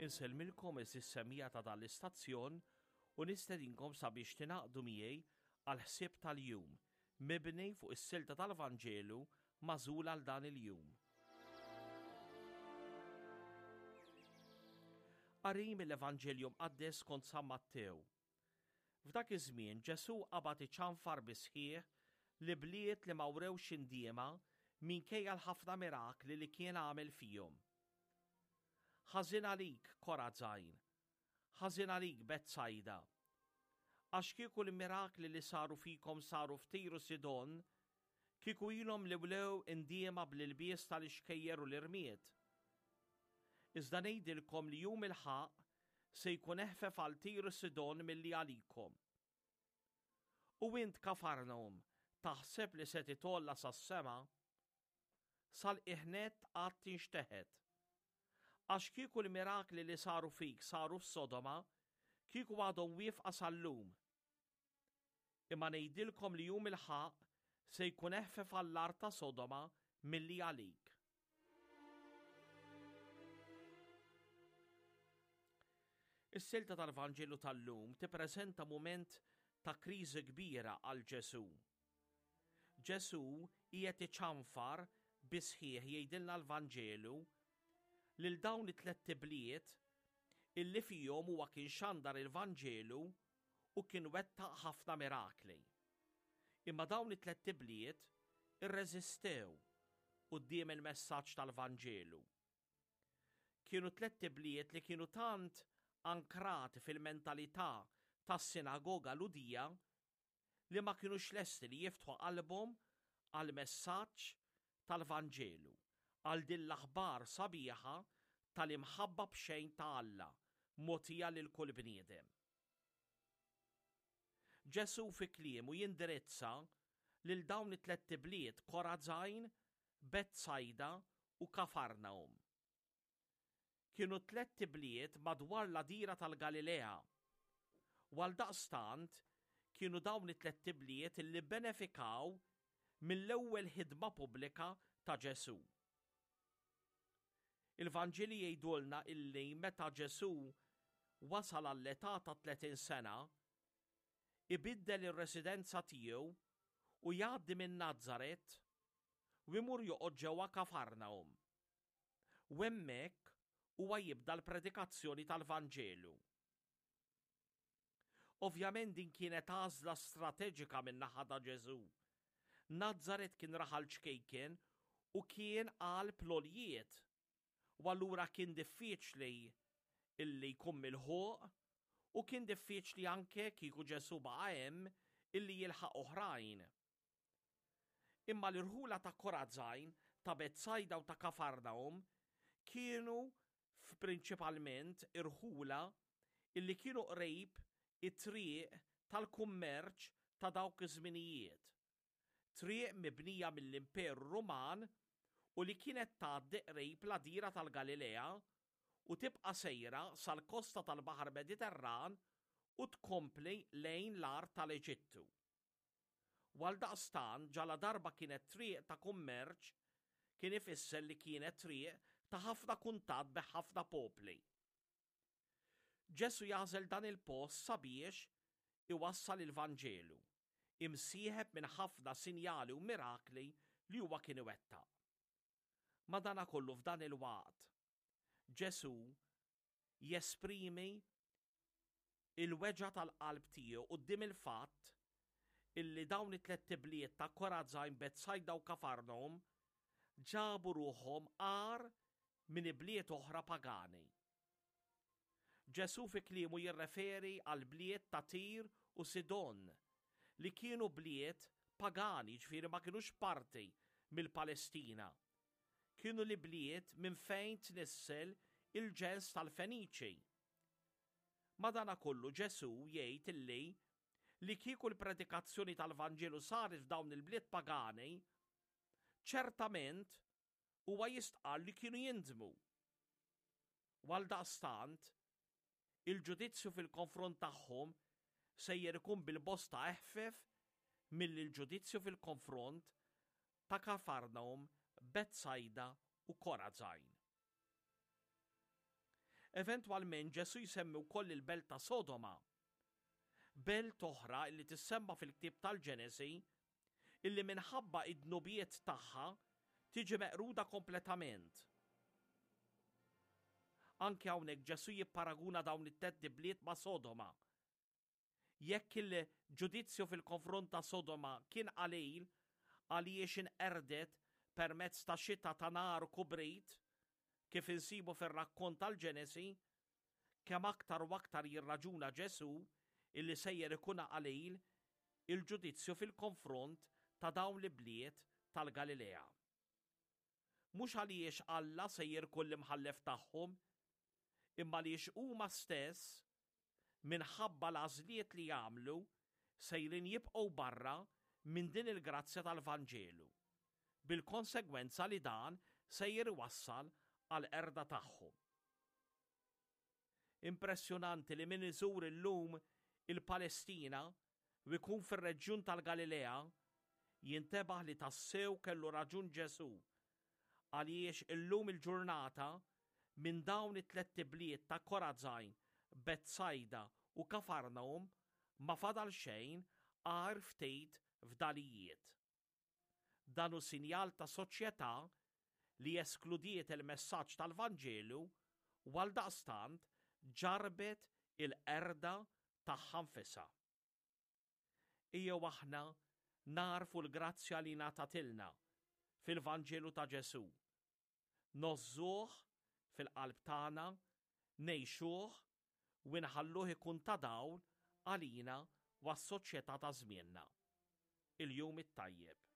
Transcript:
Insellmilkom għeżież semmiegħa ta' dan l-istazzjon u nistedinkom sabiex tingħaqdu miegħi għall-ħsieb tal-jum, mibni fuq is-silta tal-Vanġelu magħżul għal dan il-jum. Qari mill-Evanġelju Mqaddes skont San Mattew. F'dak iż-żmien Ġesù qabad iċanfar bis-sħiħ l-ibliet li ma wrewx indiema minkejja l-ħafna mirakli li kien għamel fihom. Ħażin għalik, Korazajn! Ħażin għalik, Betsajda! Għax kieku l-mirakli li saru fikom saru f'Tir u Sidon, kieku ilhom li wlew indiema bl-ilbies tal-ixkejjer u l-irmied. Iżda ngħidilkom li jum il-ħaqq se jkun eħfef għal Tir u Sidon milli għalikom. U int, Kafarnahum, taħseb li se titgħolla sas-sema? Sal-qiegħ nett għad tinxteħet. Għax kieku l-mirakli li saru fik saru f'Sodoma, kieku għadhom wieqfa sal-lum. Imma ngħidilkom li jum il-ħaqq se jkun eħfef għall-art ta' Sodoma milli għalik. Is-silta tal-Vanġelu tal-lum tippreżenta mument ta' kriżi kbira għal Ġesù. Ġesù qiegħed iċanfar bis-sħiħ jgħidilna l-Vanġelu lil dawn it-tlett ibliet illi fihom huwa kien xandar il-Vanġelu u kien wettaq ħafna mirakli. Imma dawn it-tlett ibliet irreżistew quddiem il-messaġġ tal-Vanġelu. Kienu tlett ibliet li kienu tant ankrati fil-mentalità tas-sinagoga Lhudija li ma kinux lesti li jiftħu qalbhom għall-messaġġ tal-Vanġelu, għal din l-aħbar sabiħa tal-imħabba b'xejn ta' Alla mogħtija lil kull bniedem. Ġesù fi kliemu jindirizza lil dawn it-tlett ibliet Korazajn, Betsajda u Kafarnahum. Kienu tlett ibliet madwar l-għadira tal-Galilea, u għaldaqstant kienu dawn it-tlett ibliet li bbenefikaw mill-ewwel ħidma pubblika ta' Ġesù. Il-Vanġeli jgħidulna illi meta Ġesù wasal għall-età ta' 30 sena, ibiddel ir-residenza tiegħu u jgħaddi minn Nazaret u jmur joqgħod ġewwa Kafarnahum. U hemmhekk huwa jibda l-predikazzjoni tal-Vanġelu. Ovvjament din kienet għażla strateġika min-naħa ta' Ġesù. Nazaret kien raħal ċkejken u kien qalb l-għoljiet, u allura kien diffiċli illi jkun milħuq u kien diffiċli anke kieku Ġesù baqa' hemm illi jilħaq oħrajn. Imma l-irħula ta' Korazajn, ta' Betsajda u ta' Kafarnahum kienu prinċipalment irħula illi kienu qrib it-triq tal-kummerċ ta' dawk iż-żminijiet, triq mibnija mill-Imperu Ruman u li kienet tgħaddi qrib l-għadira tal-Galilea u tibqa' sejra sal-kosta tal-Baħar Mediterran u tkompli lejn l-art tal-Eġittu. U għaldaqstant ġaladarba kienet triq ta' kummerċ kien ifisser li kienet triq ta' ħafna kuntatt bi ħafna popli. Ġesù jagħżel dan il-post sabiex iwassal il-Vanġelu, imsieħeb minn ħafna sinjali u mirakli li huwa kien iwettaq. Madanakollu f'dan il-waqt, Ġesù jesprimi il-weġgħa tal-qalb tiegħu quddiem il-fatt illi dawn it-tlett ibliet ta' Korazajn, Betsajda u Kafarnahum ġabu ruħhom agħar minn ibliet oħra pagani. Ġesù fi kliemu jirreferi għall-bliet ta' Tir u Sidon li kienu bliet pagani, ġifieri ma kinux parti mill-Palestina. Kienu l-ibliet minn fejn tnissel il-ġens tal-Feniċi. Madanakollu Ġesù jgħid illi li kieku l-predikazzjoni tal-Vanġelu saret f'dawn il-bliet pagani, ċertament huwa jistqarr li kienu jindmu. U għaldaqstant, il-ġudizzju fil-konfront tagħhom sejjer ikun bil-bosta eħfef milli l-ġudizzju fil-konfront ta' Kafarnahum, Betsajda u Korazajn. Eventwalment Ġesù jsemmi wkoll il-belt ta' Sodoma. Belt oħra illi tissemma fil-ktieb tal-Ġenesi illi minħabba id-dnubiet tagħha tiġi meqruda kompletament. Anke hawnhekk Ġesù jipparaguna dawn it-tlett ibliet ma' Sodoma. Jekk il-ġudizzju fil-konfront ta' Sodoma kien qalil għaliex inqerdet permezz ta' xita ta' nar u kubrit, kif insibu fir-rakkont tal-Ġenesi, kemm aktar u aktar jirraġuna Ġesù illi sejjer ikun qalil il-ġudizzju fil-konfront ta' dawn l-ibliet tal-Galilea. Mhux għaliex Alla sejjer ikun l-imħallef tagħhom, imma għaliex huma stess, minħabba l-għażliet li għamlu, sejrin jibqgħu barra minn din il-grazzja tal-Vanġelu, bil-konsegwenza li dan sejjer iwassal għall-qerda tagħhom. Impressjonanti li min iżur illum il-Palestina u jkun fir-reġjun tal-Galilea jintebaħ li tassew kellu raġun Ġesù għaliex illum il-ġurnata minn dawn it-tlett ibliet ta' Korazajn, Betsajda u Kafarnahum ma fadal xejn għajr ftit fdalijiet. Dan hu sinjal ta' soċjetà li eskludiet il-messaġġ tal-Vanġelu u għaldaqstant ġarrbet il-qerda tagħha nfisha. Ejjew aħna nagħrfu l-grazzja li ngħatatilna fil-Vanġelu ta' Ġesù. Ngħożżuh fil-qalb tagħna, ngħixuh u nħalluh ikun ta' dawl għalina u għas-soċjetà ta' żmienna. Il-jum it-tajjeb.